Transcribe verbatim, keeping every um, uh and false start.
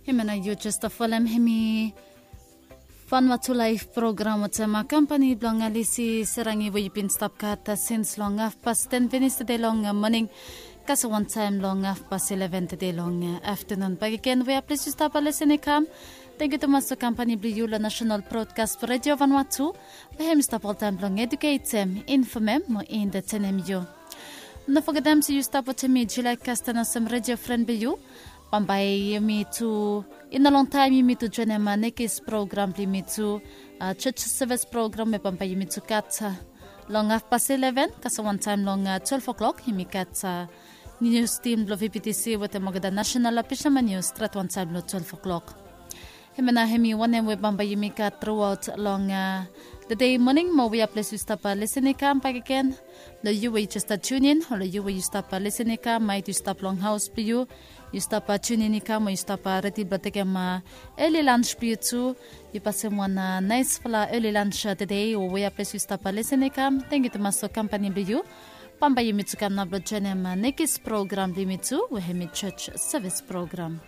Hemia nao yu jes stap folem hemi Vanua Tu Laef program wetem kampani blong Alisi Serangi we yu bin stap gat sins long hafpas ten finis tede long moning kasem wantaem long hafpas ileven tede long aftenun. Bakegen wea ples yu stap lisin i kam. Tangkiu tumas long kampani blong yu long National Broadcast Radio Vanuatu, we hem i stap oltaem blong eduketem, infomem mo entetenem yu. No fogetem se yu stap wetem mi Julia Kasten olsem radio fren blong yu. Bambae yumi tu i no longtaem yumi tu joenem nekis program blong yumi tu, church service program we bambae yumi tu gat long hafpas ileven kasem wantaem long twelve o'clock yumi gat nius tim blong VBTC wetem olgeta nasenal ofisam nius stret wantaem long twelve o'clock. Hemia nao hemi wanem we bambae yumi gat truaot long tede moning mo wea ples yu stap lisin i kam bakegen. Long yu we yu jes stap tunin o long yu we yu stap lisin i kam maet yu stap long haos blong yu, yu stap tunin i kam o yu stap redi blong tekem eli lans blong yu tu. Yu pasem wan naesfala eli lans tede o wea ples yu stap lisin i kam. Tangkiu tumas long kampani blong yu. Bambae yumi tu kam nao blong joenem nekis program blong yumi tu we hemi church service program.